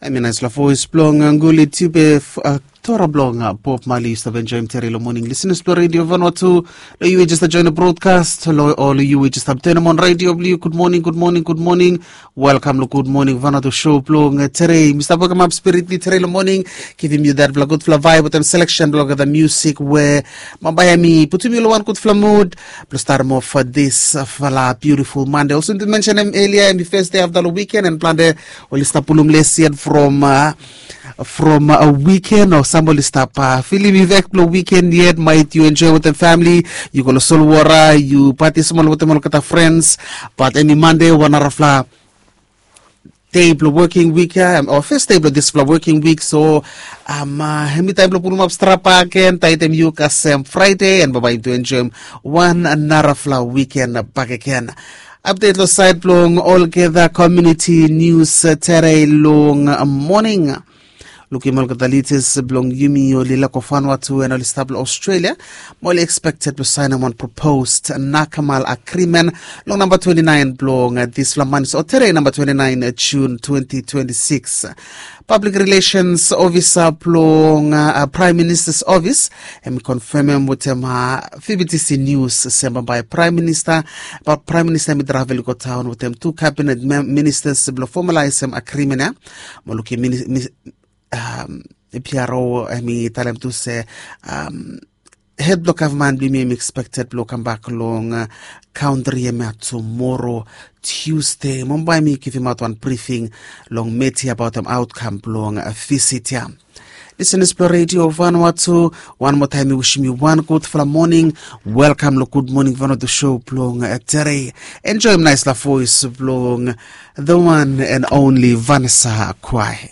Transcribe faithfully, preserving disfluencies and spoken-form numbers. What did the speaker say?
Em i naispela voes blong Guli Tiupe, Tora blong Bob Marley. Yu stap enjoim tere long moning, listeners blong Radio Vanuatu. Lo yu we just join the broadcast, lo ol yu we just stap turn on radio blong yu, good morning, good morning, good morning. Welcome lo Good Morning Vanuatu show blong tere. Mi stap welcome up spirit ni tere long moning, givim yu that bla gudfala vibe wetem selection blong the music we bambae mi putum yu lo one gudfala mood blong start off for this fala beautiful Monday. Also to mention em earlier, em i first day after long weekend, and plante oli stap pulum lesi yet from uh, from a weekend, o sambali stap uh, filim i vek blong weekend yet, might yu enjoy wetem family, yu go lo solwara, yu pati smol wetem olgeta friends. But em i Monday, wan narafala day blong working week ya, o first day blong dispela working week. So um, uh, em i taim blong pulumap strapa gen, taitem yu kasem Friday, and baba yu tu enjoim wan narafala weekend bakegen. Update lo side blong olgeta community news uh, tere long uh, morning. Lukim olgeta leaders blong yumi oli lako Vanuatu, and oli stap long Australia, mo oli expected blong sainim wan proposed nakamal agreement long namba twenty-nine blong uh, dispela manis, o tere namba twenty-nine uh, June twenty twenty-six. Public Relations Officer blong uh, uh, Prime Minister's Office, em i confirmem wetem uh, V B T C News se bambae Prime Minister, ba Prime Minister em i travel i go taon wetem tu cabinet mem- ministers blong formalisem agreement ya. Mo lukim mini- mi- um, P R O em i talem tu se um, head blong gavman blong yumi em i expected blong kambak long uh, country em ya tomorrow, Tuesday. Mo bambae mi givimaot wan briefing long media about em outcome blong uh, visit ya. Listeners blong Radio Vanuatu, wan moa taim mi wishim yu wan gudfala moning. Welcome lo Good Morning Vanuatu show blong uh, tere. Enjoim naispela voes blong the one and only Vanessa Kwai.